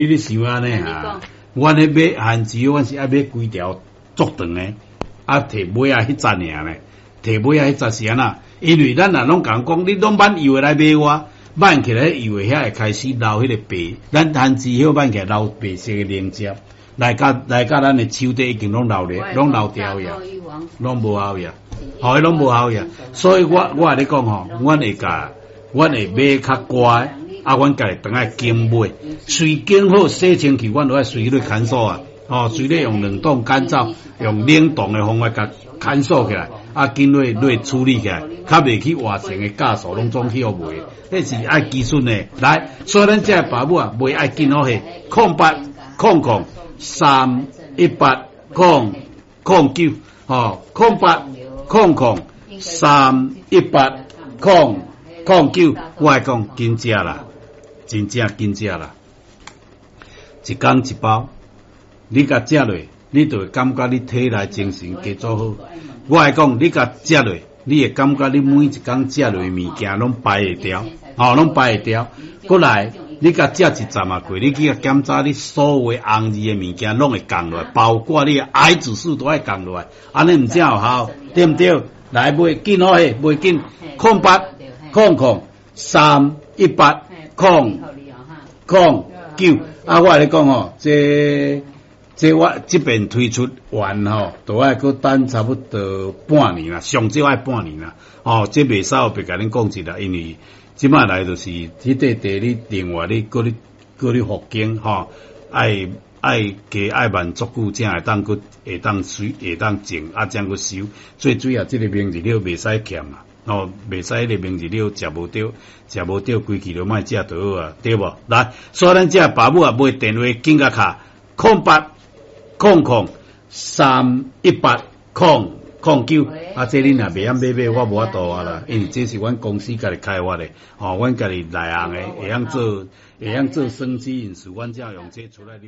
你咧想按呢哈？阮咧買番薯，阮是愛買規條足長的，啊，提尾仔彼節爾呢？提尾仔彼節是按怎？因為咱若攏共講，你攏挽幼的來買我，挽起來幼的遐會開始流彼個白，咱番薯葉挽起來流白色的凝汁，來甲咱的手底已經攏流咧，攏流掉去啊，攏無效去啊，吼，彼攏無效去啊。所以我共你講吼，阮會共，阮會買較乖。啊，阮家己轉來揀買，隨揀好洗清氣，阮就愛隨咧乾燥啊，吼，隨咧用冷凍乾燥，用冷凍的方法共乾燥起來，啊，緊落落處理起來，較袂去活性的酵素攏總去予賣，彼是愛技術的。來，所以咱這个爸母啊，買愛緊好勢，08000318009，吼，08000318009，我來講緊食啦。真正緊食啦！一工一包，你共食落，你就會感覺你體內精神加做好。我來講，你共食落，你會感覺你每一工食落物件攏排會掉，吼，攏排會掉。閣來，你共食一站仔過，你去共檢查，你所有紅字的物件攏會降落來，包括你的癌指數都愛降落來，按呢毋才有效，對毋對？來買緊好勢，買緊08000318009。啊，我共你講吼，這我這邊推出完吼，都愛閣等差不多半年啦，上少愛半年啦。哦，這袂使白共恁講一啦，因為這擺來就是彼塊地，你另外你閣咧閣咧復耕吼，愛愛加愛慢足久，才會當閣會當水會當種，啊，才閣收。最主要這个明日料袂使欠啊。哦，袂使彼个明日料食無著，食無著，規氣就莫食就好啊，對無？來，所以咱這爸母啊，買電話緊共敲08000318009。啊，這恁若袂曉買買，我無法度啊啦，因為這是阮公司家己開發的，吼，阮家己內行的，會曉做，會曉做生機飲食，阮才用這出來。